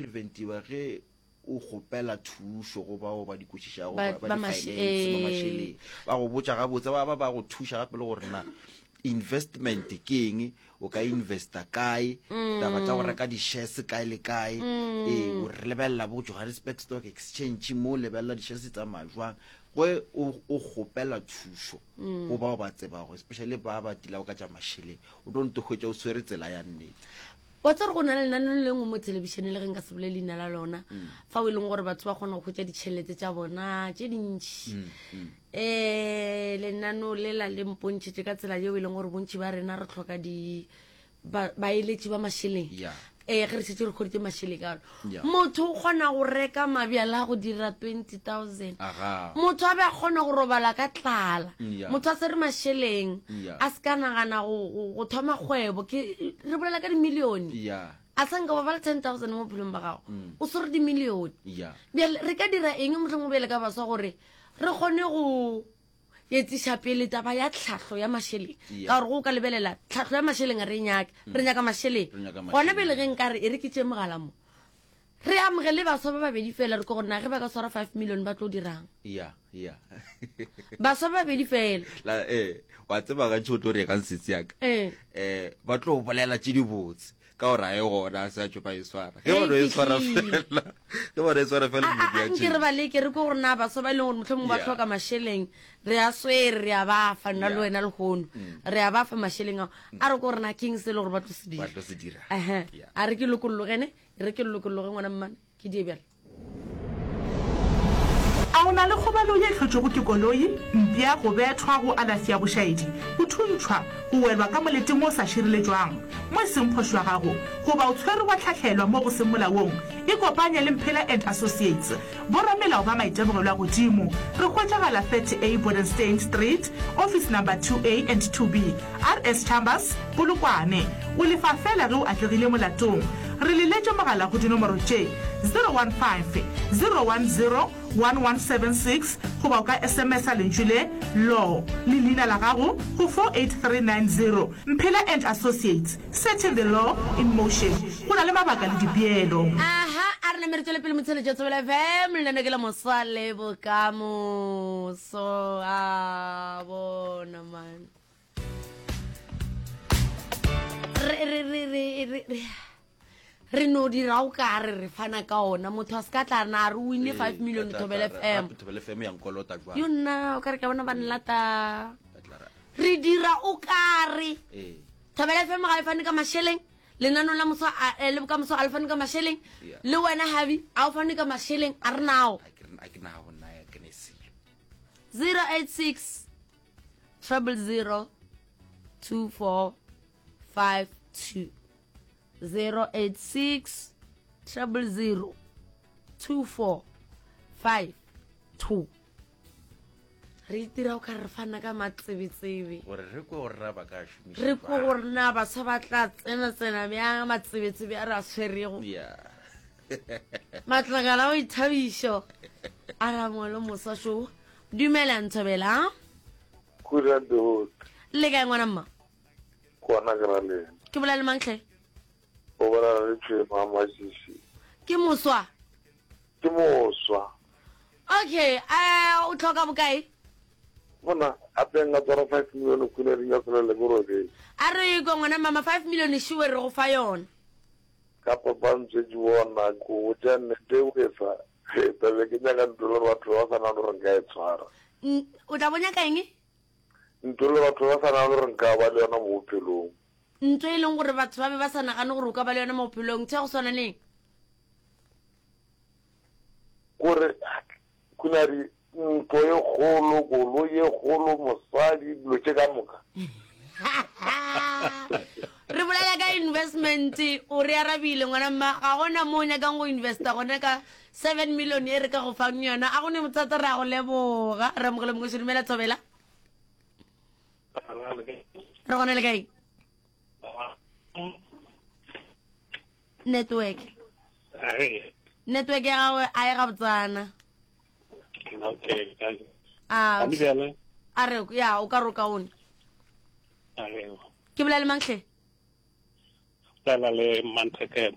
preventiwa ge o kgopela thušo go bao ba di kwešišago Ba- ba ba di maše- finance, ba eh. mašeleng ba go botša gabotse ba ba ba go thuša gape le gore na investment ke eng o ka investa kae taba tša go reka di-shares kae le kae ee o re lebelela bo johannesburg stock exchange mo o lebelela di-shares tsamaya jwang ge o o kgopela thušo go bao ba tsebago especially ba ba tilago ka tša mašeleng o tlo nto hwetša o swere tsela ya nnete Wa tseba gore go na le lenaneo le lengwe mo thelebišeneng le ge nka se bolele leina la lona mm. fao e leng gore batho ba kgona go hwetša ditšhelete tša bona tše dintši um mm, mm. lenaneo lela le mpontšhitše ka tsela yeo e leng gore bontši ba rena re tlhoka di baeletši ba mašeleng ee ge re šetse re kgoditse mašeleng ka ona motho o kgona go reka mabjala go dira 20000 motho a be a kgona go robala ka tlala motho a se re mašeleng a se ka nagana go thoma kgwebo ke re bolela ka dimilione a sa nka ba ba le 10000 mo bophelong ba gago mm. o swere dimilione bjale re ka dira eng mohlomong bjale ka baswa gore re kgone go etsiša pele taba ya tlhahlo ya mašeleng ka gore go ka lebelela tlhahlo ya mašeleng a re e nyake mm. re nyaka mašeleng gona pele ge nkare e re ke tše mogala mo Re amogele baswa ba babedi fela re ko gore na ge ba ka swara 5 million ba tlo dirang. Ya, ya. Baswa ba babedi fela. La eh wa tseba gantši o tlo re kang setsi ya ka. Eh. Eh ba tlo bolela tše dibotse ka gore a e gona a se a tšo ba e swara. Ge ba no e swara fela. Ge ba no e swara fela A a nke re ba leke re ko gore na baswa ba e leng gore mohlomongwe ba hloka mašeleng re a swere re a ba fa nna le wena lehono mm. re a ba fa mašeleng ao a re ko gore na keng se e le gore ba tlo se dira. Ba tlo se dira. A re ke lokollogene E re ke lokologe ngwana mmane, ke die bjale. A o na le kgobalo ye e hlotšwego ke koloi, mpša, go bethwa, go alafi ya bošaedi, go thuntšhwa, go welwa ka moleteng wo o sa šireletšwang, mo e seng phošo ya gago, goba o tshwerwe wa hlahlelwa mo go seng molaong? Ikopanye le Mphela and Associates, boramelao ba maitemogelo a godimo. Re hwetšagala 30A Bodenstein Street, Office Number 2A and 2B. RS Chambers, Polokwane. O lefa feela ge o atlegile molatong. Re leletše mogala go dinomoro tše, 015 010 1176 goba o ka SMS-a lentšu le, Law, le leina la gago go 48390. Mphela and Associates, setting the law in motion. Go na le mabaka le dipeelo. Aha, a re name re tšwele pele motheletši wa Thobela FM, lenaneo ke la Moswa le Bokamoso. A bona man. Re re re re re re re no dira o ka re re fana ka ona motho a se ka tla na re wine 5 million Thobela FM. Thobela FM ya nkolota jwang? Yo nna o ka re ka bona ba nlata. Re dira o ka re. Ee. Thobela FM ga e fane ka mašeleng. Lenaneo la moswa a- eh, le bokamoso ga le fane ka mašeleng. Yeah. Le wena Habi a o fane ka mašeleng a re nao. A ke a ke nao nna ya ke ne selo. 086 000 2452 086 000 2452 re itira o ka re fana ka matsebetsebe gore re kwe gore na ba ka šomiša re kwe gore na batho ba tla tsena tsena bjang matsebetsebe a re a tshwerego yeah matlakala a boithabišo a ramolo moswa šo dumela nthobela Goedendag. Le kae ngwana mma? Gona ke ra lena. Ke bolela le mang tlhe? O bolela le Tšhema Masisi. Ke moswa? Ke moswa. Okay, eh o tlhoka bokae? Mona, ape nka tswara 5 million khule re nyaka le ke robedi. A re ko ngwana mama 5 million sure re go fa yona. Ka papa ntse di bona go botša nnete o efa. Tabe ke nyaka ntlo le batho ba sa nagane gore nka e tshwara. O tla bo nyaka eng? Ntlo le batho ba sa nagane gore nka ba le yona mo bophelong. Ntlo e leng gore batho ba be ba sa nagane gore o ka ba le yona mo bophelong, ntho ya go swana le eng? Gore Khunadi, ntlo e kgolo, koloi e kgolo, mosadi, dilo tše ka moka. Re bolela ka investment, o re arabile ngwana mma, ga gona mo o nyakang go investa gona ka 7 million e re ka go fang yona. A go ne bothata, re a go leboga. Re amogele mongwe dumela Thobela. Re gona le kae? Network. Network ya gagwe a e gabotsana. Okay. A a re ya o ka re o kaone. Ke bolela le mang hle? Bolela le Mantheke.